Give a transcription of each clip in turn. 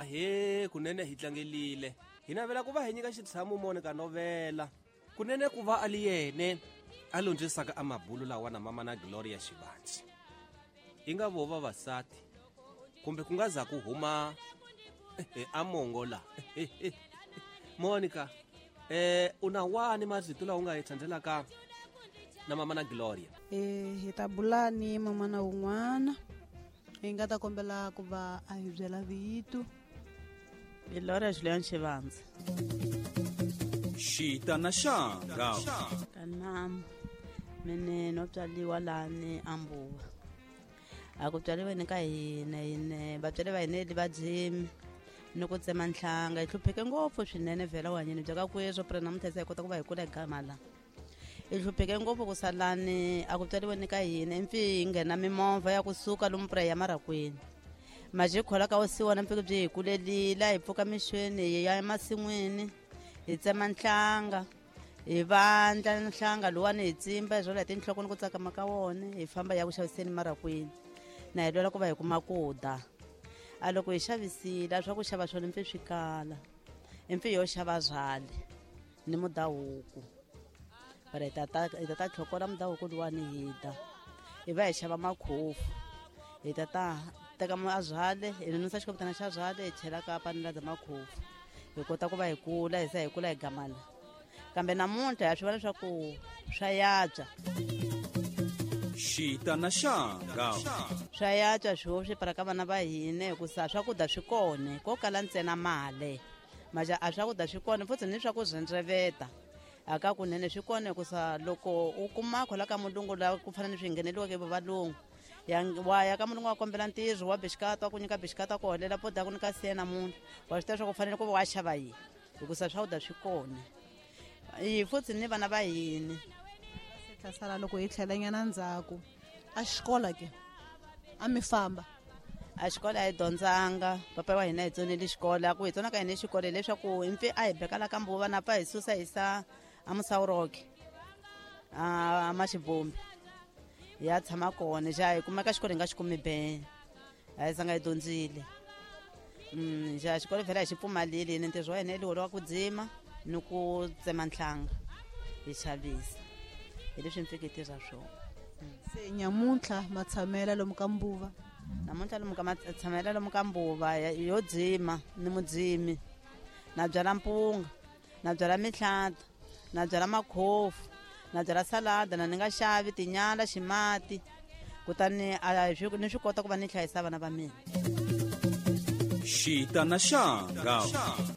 Ahee, kunene hi tlangelile. Hi navela ku va hi nyika xitshamo Monica Novela. Kunene ku va a li yene a londzisaka a mabulu lawa na mama na Gloria Xivandzi. I nga vo vavasati kumbe ku nga za ku huma a mongo la. Monica, u na wani marito lawa u nga hi tsandelaka na mama na Gloria? Hi ta bula ni mama na un'wana. Hi nga ta kombela ku va a hi byela vito. Gloria Julian Xivandzi. Xita na xanga. Kanam mene no tswaliwa lani ambuwa. A ku tswaliwe ni ka hina hina vatswari va hina va dzimi ni ku tsema nhlanga hi hlupheke ngopfu swinene vhela wanyini bya ka kweswo pra namuntlha se hi kota ku va hi kula hi gama la. Hi hlupheke ngopfu ku salani a ku tswaliwe ni ka hina impfi hi nghena mimovha ya kusuka lomu pra ya marakwini. Maje khola ka osiwa na mpfike byi hi kulelile hi pfuka mixweni hi ya emasin'wini hi tsema nhlanga hi vandla nhlanga luwani hi tsimba hi rhwala hi tinhloko ni ku tsakama ka wona hi famba ya ku xaviseni marakwini na hi lwela ku va hi kuma ku dya. A loko hi xavisile a swa ku xava swona mpfi swi kala impfi yo xava byale ni mudahuku bara hi ta tlhokola mudahuku luwani hi dya hi va hi xava makhofu hi ta teka a byale hi nonisa xikopetana xa byale hi chela ka panela bya makhofu hi kota ku va hi kula hi se hi kula hi gamala kambe namuntlha ha swi vona leswaku swa yatswa. Xita na xanga. Swa yatswa swo swi para ka vana va hina hikusa swakudya swi kona ko kala ntsena mali maja a swakudya swi kona futhi ni swa ku rhendzeveta aka kunene swi kona hikusa loko u kuma khola ka mulungu la ku fana ni swi ngheneliweke valungu ya wa ya ka mulungu wa kombela ntirho wa bixikata wa ku nyika bixikata ku holela poda ku nyika siya namuntlha wa swi tiva swa ku fanele ku va wa xava yini hikusa swakudya swi kona hi futhi ni vana va hina. Sala loko hi tlhelanyana ndzhaku a xikolo ke a mi famba a xikolo a hi dyondzanga papa wa hina hi tsonile xikolo a ku hi tsona ka hina xikolo hileswaku impfi a hi bekala ka mbuva na pfa hi susa hi sa a Musawuroke a Maxibombi hi ya tshama kona xa hi kumeka xikolo hi nga xi kumi be a hi zanga hi dyondzile. Xa xikolo vhela hi xi pfumalile ni ntirho wa hina hi wa ku dzima ni ku tsema nhlanga hi xavisa hi leswi mpfike hi tirha swona. Se nyamuntlha matshamela lomu ka mbuva. Namuntlha lomu ka matshamela lomu ka mbuva yo dzima ni mudzimi na byala mpunga na byala mihlata na byala makhofu na byala salada na ni nga xavi tinyala ximati kutani a ni swi kota ku va ni hlayisa vana va mina. Xita na xanga.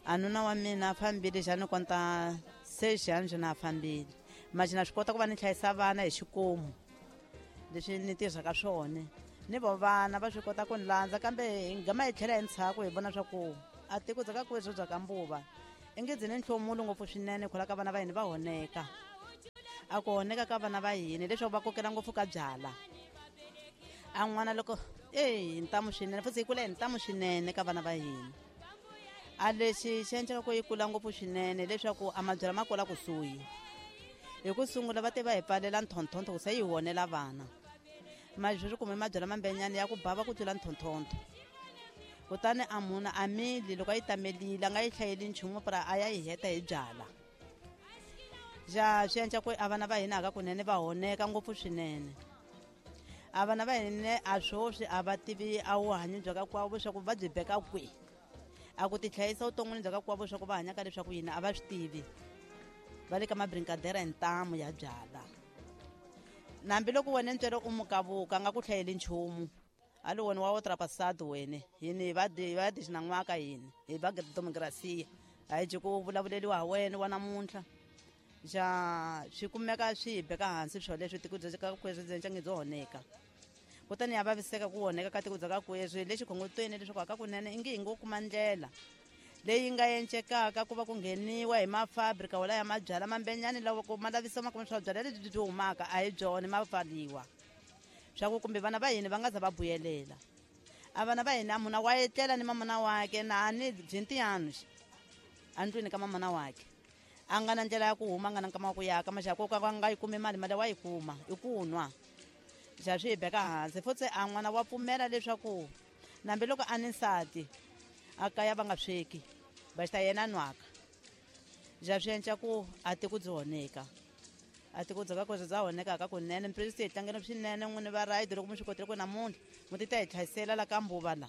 A nuna wa mina a fambile xa ni konta se xana na fambile maji na swi kota ku va ni hlayisa vana hi xikomu leswi ni tirhaka swona ni vo vana va swi kota ku ni landza kambe hi gama hi tlhela hi ndzhaku hi vona swa ku a tiko bya ka kweswo bya ka mbuva i nge byi ni nhlomulo ngopfu swinene khola ka vana va hina va honeka a ku honeka ka vana va hina leswaku va kokela ngopfu ka byala a n'wana loko hi ntamu swinene futhi hi kula hi ntamu swinene ka vana va hina a lexi xi endlaka ku yi kula ngopfu swinene leswaku a mabyala ma kula kusuhi hi ku sungula va te va hi pfalela nthonthonto ku se yi honela vana mali sweswi kume mabyala mambenyana ya ku bava ku tlula nthonthonto kutani a munhu a mili loko a yi tamelile a nga yi hlayeli nchumu pra a ya yi heta hi byala xa swi endla ku a vana va hina aka kunene va honeka ngopfu swinene a vana va hina a swoswi a va tivi a vuhanyo bya ka kwavo leswaku va byi beka kwihi a ku tihlayisa vuton'wini bya ka kwavo leswaku va hanyaka leswaku yini a va swi tivi va le ka mabrinkadera hi ntamu ya byala nambi loko wena ntswele u mukavuka a nga ku hlayeli nchumu a li wena wa wo trapasado wene yini va dixinan'waka yini hi va demokrasiya a hi byi ku vulavuleliwa ha wena wa namuntlha xa swi kumeka swi hi beka hansi swo leswi tiko bya ka kweswi byi byo honeka kutani ya vaviseka ku honeka ka tiko bya ka kweswi lexi khongotweni leswaku aka kunene i nge hi ngo kuma ndlela leyi nga encekaka ku va ku ngheniwa hi mafabrika wala ya mabyala mambenyani lawa ku ma lavisa ma kuma swa byala lebyi byi humaka a hi byona ma pfaliwa swa ku kumbe vana va hina va nga za va buyelela a vana va hina munhu wa etlela ni mamana wakhe na ni byi ntiyano andlwini ka mamana wakhe a nga na ndlela ya ku huma a nga na nkama wa ku yaka maxaka ko ka nga yi kumi mali mali wa yi kuma i ku nwa xa swi hi beka hansi futhi a n'wana wa pfumela leswaku nambi loko a ni nsati A kaya va nga sweki va xita yena nwaka ja swi endla ku a ti ku byi honeka a ti ku dzaka ku bya honeka ka kunene mpresi hi tlangela swinene n'wini va rayidi loko mi swi kotile ku namuntlha mu ti ta hi tlhayisela la ka mbuva la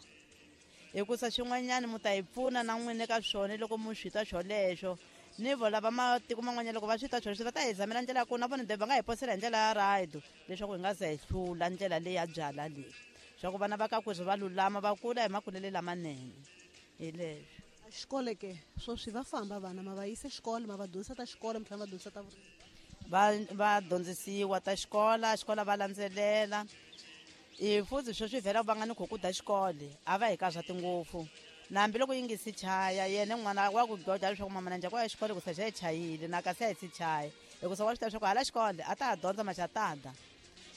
hikusa swin'wanyana mu ta hi pfuna na n'wini ka swona loko mu swi twa swoleswo ni vo lava matiko man'wanyana loko va swi twa swoleswo va ta hi zamela ndlela ya kona na vona va nga hi posela hi ndlela ya rayidi leswaku hi nga za hi hlula ndlela leyi ya byala leyi swa ku vana va ka kweswi va lulama va kula hi makulele lamanene hi leswo. Xikolo ke swoswi va famba vana ma va yisa xikolo ma va dyondzisa ta xikolo mi tlhela va dyondzisa ta vurimi va dyondzisiwa ta xikola xikola va landzelela i futhi sweswi vhela va nga ni khukuda xikolo a va hi karhati ngopfu na hambiloko yi nge si chaya yena n'wana wa ku goda leswaku mama na njhani ku ya xikolo ku se xa yi chayile na kasi a yi si chaya hikusa wa swi tiva leswaku hala xikolo a ta ha dyondza maxatada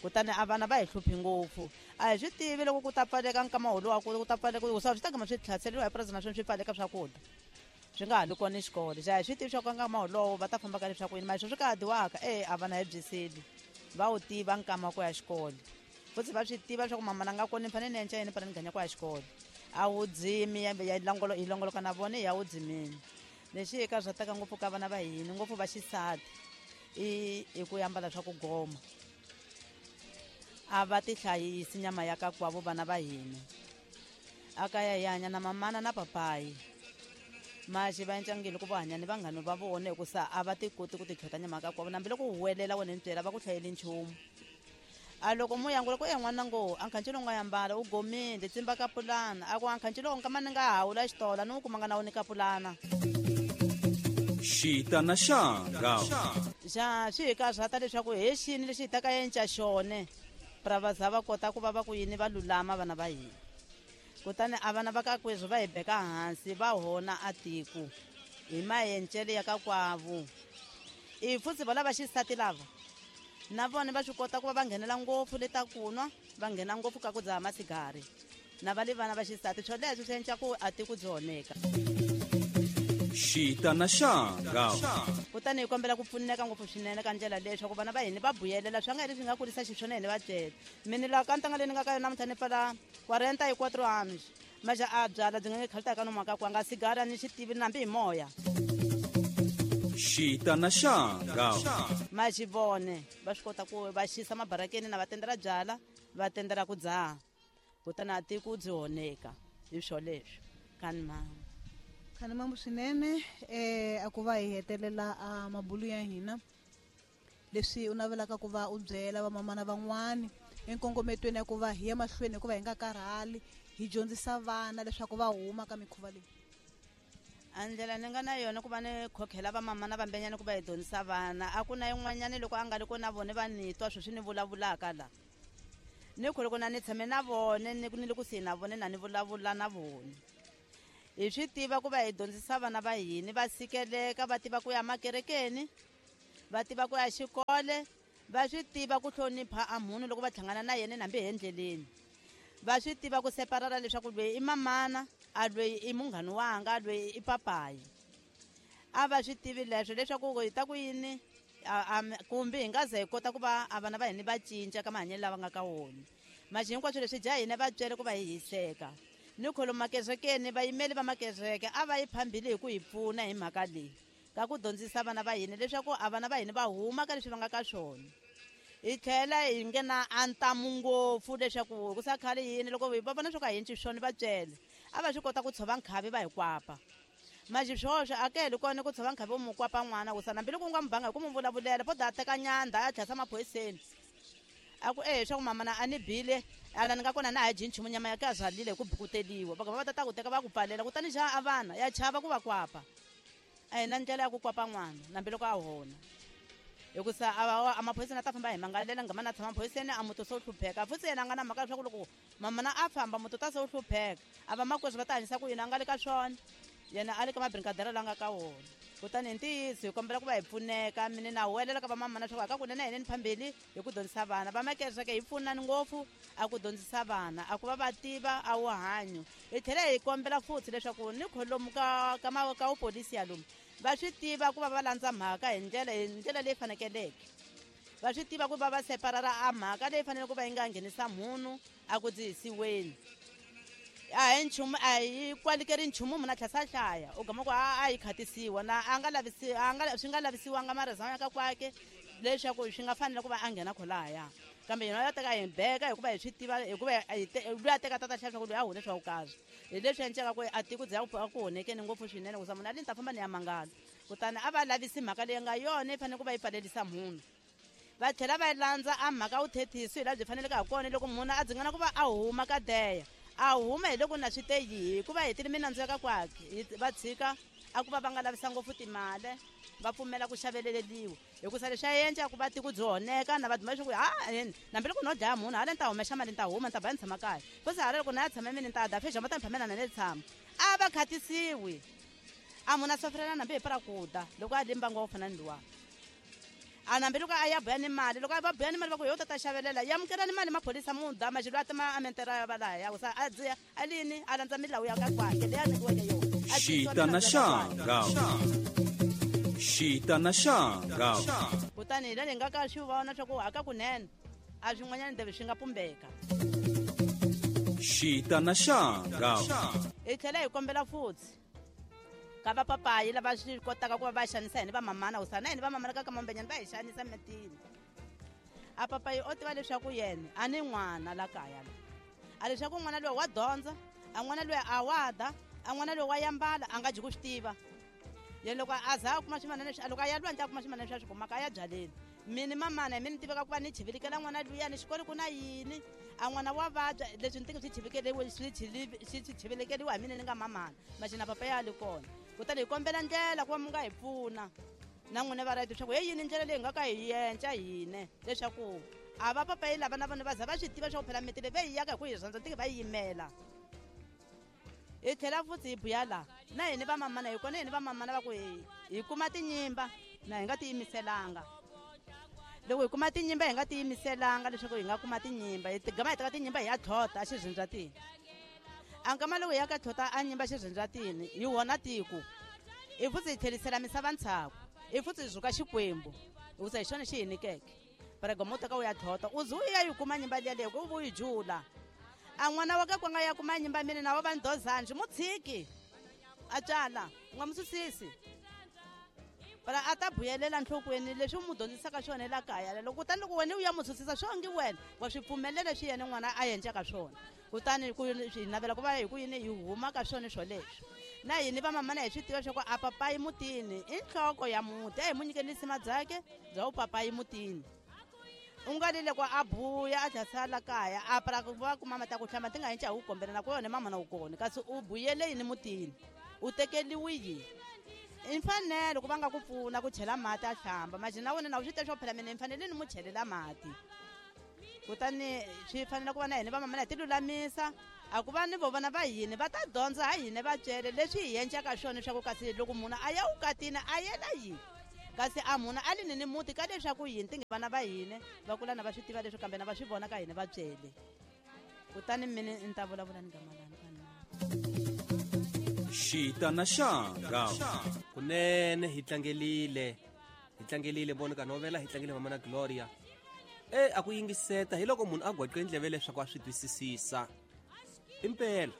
kutani a vana va hi hluphi ngopfu a hi swi tivi loko ku ta pfaleka nkama wolowo ku ta pfaleka ku swi ta gama swi tlhaseriwa hi purasi naswona swi pfaleka swakudya swi nga ha li kona xikolo xa hi swi tivi swa ku nkama wolowo va ta famba ka leswaku yini mali swi ka ha dyiwaka e a vana hi byiseli va wu tiva nkama ku ya xikolo futhi va swi tiva leswaku mama na nga kona ni fanele ni endla yini fanele ni ganya ku ya xikolo a wu dzimi ya hi longoloka na vona ya wu dzimini lexi hi karhataka ngopfu ka vana va hina ngopfu va xisati i ku ambala swa ku goma a va tihlayisi nyama ya kakwavo vana va hina a kaya hi hanya na mamana na papayi maxi va encangile ku va hanya ni vanghani va vona hikusa a va ti koti ku titlhota nyama ya kakwavo nambi loko huwelela wena ni byela va ku hlayeli nchumu a loko muyangula ku en'wana ngo a nkhanci lowu nga yambala u gomile tsimba ka pulana a ku a nkhanci lowu nkama ni nga hawula xitola ni wu kumanga na wu ni ka pulana xita na xanga xa swi hi karhata leswaku he xini lexi hi ta ka enca xone pra va za va kota ku va va ku yini va lulama vana va hina kutani a vana va ka kweswi va hi beka hansi va hona a tiko hi maencele ya ka kwavu i futhi va lava xisati lava na vona va swi kota ku va va nghenela ngopfu le ta kunwa va nghena ngopfu ka ku dzaha masigari na va le vana va xisati swoleswo swi endla ku a tiko byi honeka xita na xanga kutani hi kombela ku pfuneka ngopfu swinene ka ndlela leyi swa ku vana va hina va buyelela swa nga leswi nga kurisa xiswona hina va byela mina laha ka ntanga leyi ni nga ka yona namuntlha ni pfala 40 hi 4 anos maxa a byala byi nga nge khalita ka nomaka ku anga sigara ni xi tivi nambi hi moya xita na xanga maxi vone va swi kota ku va xisa mabarakeni na va tendela byala va tendela ku dzaha kutani a tiko byi honeka hi swoleswo kani mama khani mambo swinene a ku va hi hetelela a mabulu ya hina leswi u navelaka ku va u byela vamamana van'wani enkongometweni ya ku va hi ya mahlweni hikuva hi nga karhali hi dyondzisa vana leswaku va huma ka mikhuva leyi a ndlela ni nga na yona ku va ni khokhela vamamana vambenyana ku va hi dyondzisa vana a ku na yin'wanyana loko a nga ri kona vona va ni twa sweswi ni vulavulaka la ni ku loko na ni tshame na vona ni ni le kusuhi na vona na ni vulavula na vona hi swi tiva ku va hi dyondzisa vana va hina va sikeleka va tiva ku ya makerekeni va tiva ku ya xikole va swi tiva ku hlonipha a munhu loko va hlangana na yena hambi hi endleleni va swi tiva ku separara leswaku loyi i mamana a loyi i munghani wanga loyi i papayi a va swi tivi leswo leswaku hi ta ku yini kumbe hi nga ze hi kota ku va a vana va hina va cinca ka mahanyelo lava nga ka wona maxi hinkwaswo leswi dya hina va byele ku va hi hiseka ni kholo makerekeni vayimeli va makereke a va yi phambili hi ku hi pfuna hi mhaka leyi ka ku dyondzisa vana va hina leswaku a vana va hina va huma ka leswi va nga ka swona hi tlhela hi nghena a ntamu ngopfu leswaku ku sa khale yini loko va vona swo ka hi enci swona va byele a va swi kota ku tshova nkhavi va hi kwapa maxi swoswo a ke heli kona ku tshova nkhavi wo mu kwapa n'wana ku sana hambiloko u nga mu banga hi ku mu vulavulela po da teka nyandha a tlhasa maphoyiseni a ku e swa ku mama na a ni bile ala ni nga kona na ha dyi nchumu nyama ya ka zalile hi ku bukuteliwa va va ta ta ku teka va ku pfalela kutani xa a vana ya chava ku va kwapa a hi na ndlela ya ku kwapa n'wana nambiloko a hona hikusa a maphoyiseni a ta famba hi mangalela ngama na tshama maphoyiseni a muti se wu hlupheka futhi yena a nga na mhaka leswaku loko mamana a famba muti ta se wu hlupheka a va makweswi va ta hanyisa ku yini a nga le ka swona yena a le ka mabrinkadera la nga ka wona kutani hi ntiyiso hi kombela ku va hi pfuneka mine na huwelela ka vamamana leswaku aka kunene hina ni phambili hi ku dyondzisa vana va makereke hi pfunani ngopfu a ku dyondzisa vana a ku va va tiva a wu hanyo hi tlhela hi kombela futhi leswaku ni kholomu ka ka ka wupolisi ya lomu va swi tiva ku va va landza mhaka hi ndlela leyi fanekeleke va swi tiva ku va va separara a mhaka leyi fanele ku va yi nga nghenisa munhu a ku dzihisiweni A hi nchumu a hi kwalikeri nchumu munhu a tlhela hlaya u gama ku a yi khatisiwa na a nga lavisi a nga swi nga lavisiwanga marizama ya ka kwake leswaku swi nga fanele ku va a nghena kholaya kambe yena ya teka hi beka hikuva hi swi tiva hikuva loyi a teka tata hlaya swa ku loyi a hune swa vukazi hi leswi endleka ku a tiko bya ku honekeni ngopfu swinene ku za munhu a li ni ta famba ni ya mangala kutani a va lavisi mhaka leyi nga yona yi fanele ku va yi pfalelisa munhu va tlhela va landza a mhaka wu thethisi hi laha byi faneleke ha kona loko munhu a dzingana ku va a huma ka deya a huma hi loko na swi te yihi hikuva hetile minandzu ya ka kwakhe va tshika a ku va va nga lavisa ngopfu timali va pfumela ku xaveleleliwa hikusa leswi a endla ku va tiko byi honeka na va duma leswaku ha hambi loko no dlaya munhu hala ni ta humesa mali ni ta huma ni ta ba ni tshama kaya futhi hala loko na ya tshama mini ni ta da fexa ma ta ni phamela na ni tshama a va khatisiwi a munhu a sofrela nambi hi para ku da loko a li mbangu wa ku fana ni luwa a nambi loko a ya buya ni mali loko a va buya ni mali va ku yo ta ta xavelela yamukelani mali maphorisa mu da maxilo a tima a mentera ya va laha ya ku sa a dziya a lini a landza milawu ya ka kwakhe leyi a nyikiweke yona. Xita na xanga. Xita na xanga. Kutani hi laha hi nga ka swi vona swa ku aka kunene a swin'wanyana ndebe swi nga pumbeka. Xita na xanga. Hi tlhela hi kombela futhi ka vapapayi lava swi kotaka ku va va xanisa hina vamamana ku sana hina vamamana ka kamambenyana va hi xanisa mitini a papayi o tiva leswaku yena a ni n'wana la kaya la a leswaku n'wana loyi wa dyondza a n'wana loyi a wa da a n'wana loyi wa yambala a nga dyi ku swi tiva yena loko a za a kuma swimanana leswi loko a ya lwandle a kuma swimanana leswi a swi kumaka a ya byaleni mini mamana hi mini tiveka ku va ni chivilikela n'wana luya ni xikolo ku na yini a n'wana wa vabya leswi ni tingi swi chivikeliwe swi chivilekeliwa hi mina ni nga mamana maxina papa ya li kona kutani hi kombela ndlela ku va mi nga hi pfuna na n'wina va right leswaku he yini ndlela leyi nga ka hi yenca hine leswaku a va papayi lava na vona va za va swi tiva swa ku phela miti leyi va yi yaka hi ku hi rhandza tiki va yi yimela hi tlhela futhi hi buya laha na hina vamamana hi kona hina vamamana va ku hi kuma tinyimba na hi nga tiyimiselanga loko hi kuma tinyimba hi nga tiyimiselanga leswaku hi nga kuma tinyimba hi gama hi teka tinyimba hi ya tlhota a xirhindzatini a nkama loko hi ya ka tlhota a nyimba xirhindzatini hi wona tiko hi futhi hi tlherisela misava ntshaku hi futhi hi zuka xikwembu hikusa hi xona xi hi nyikeke para gama u teka u ya tlhota u ze u ya yi kuma nyimba liya leyi ku u yi jula a n'wana wa ka ku nga ya kuma nyimba mina na wa va ndozanji mu tshiki a tswala u nga mu susisi para a ta buyelela nhlokweni leswi u mu dyondzisaka swona la kaya loko kutani loko wena u ya mu susisa swo ngi wena wa swi pfumelela swi yena n'wana a endlaka swona kutani ku hi navela ku va hi ku yini hi huma ka swona swoleswo na hini vamamana hi swi tiva swa ku a papayi mutini i nhloko ya muti a hi mu nyikeni risima byakhe bya u papayi mutini u nga li loko a buya a tlhela la kaya a para ku va kuma mati ya ku hlamba ti nga hinca hi wu kombela na ku yona mama na wu kona kasi u buyele yini mutini u tekeliwi yini i mfanelo ku va nga ku pfuna ku chela mati a hlamba maxi na wena na u swi tiva swo phela mina ni fanele ni mu chelela mati kutani swi fanele ku va na hina vamamana hi ti lulamisa a ku va ni vo vona va hina va ta dyondza ha hina va byele leswi hi endlaka swona leswaku kasi loko munhu a ya vukatini a yela yini kasi a munhu a li ni ni muti ka leswaku yini ti vana va hina va kula na va swi tiva leswi kambe na va swi vona ka hina va byele kutani mina ni ta vulavula ni gamalani Xita na xanga. Kunene hi tlangelile Monica Novela hi tlangele mama na Gloria a ku yingiseta hi loko munhu a gwaqe ndleve leswaku a swi twisisisa impela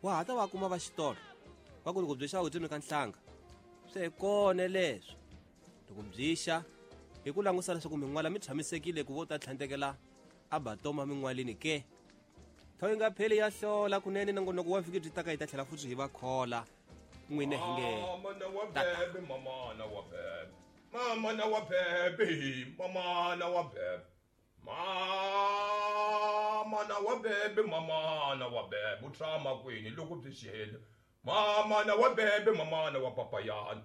wa ha ta va kuma va xitolo va ku loko byi xa u tsemi ka nhlanga swi hi kona leswi loko byi xa hi ku langusa leswaku min'wala mi tshamisekile ku vo ta tlhantekela a batoma min'walini ke thawu yi nga pheli ya hlola kunene nongonoko wa vhiki byi taka hi ta tlhela futhi hi va khola n'wina hi nge mamana wa bebe mamana wa bebe mamana wa bebe mamana wa bebe mamana wa bebe mamana wa bebe u tshama kwini loko byi xele mamana wa bebe mamana wa papayana.